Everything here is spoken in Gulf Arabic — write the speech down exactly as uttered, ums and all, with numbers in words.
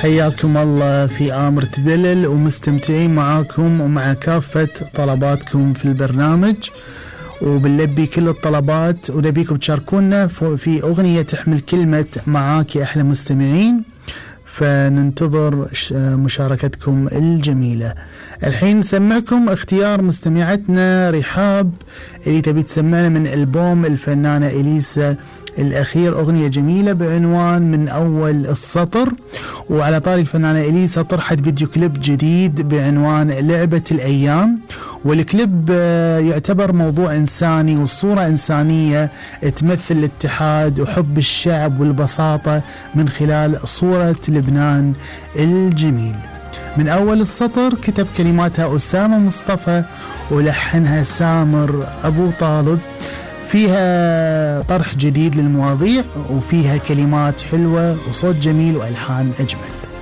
حياكم الله في آمر تدلل، ومستمتعين معاكم ومع كافة طلباتكم في البرنامج، وبنلبي كل الطلبات ونبيكم تشاركونا في أغنية تحمل كلمة معاك يا أحلى مستمعين، فننتظر مشاركتكم الجميلة. الحين نسمعكم اختيار مستمعتنا رحاب اللي تبي تسمعنا من ألبوم الفنانة إليسا الأخير أغنية جميلة بعنوان من أول السطر. وعلى طاري الفنانة إليسا طرحت فيديو كليب جديد بعنوان لعبة الأيام، والكليب يعتبر موضوع إنساني والصورة إنسانية تمثل الاتحاد وحب الشعب والبساطة من خلال صورة لبنان الجميل. من أول السطر كتب كلماتها أسامة مصطفى ولحنها سامر أبو طالب، فيها طرح جديد للمواضيع وفيها كلمات حلوة وصوت جميل وألحان أجمل.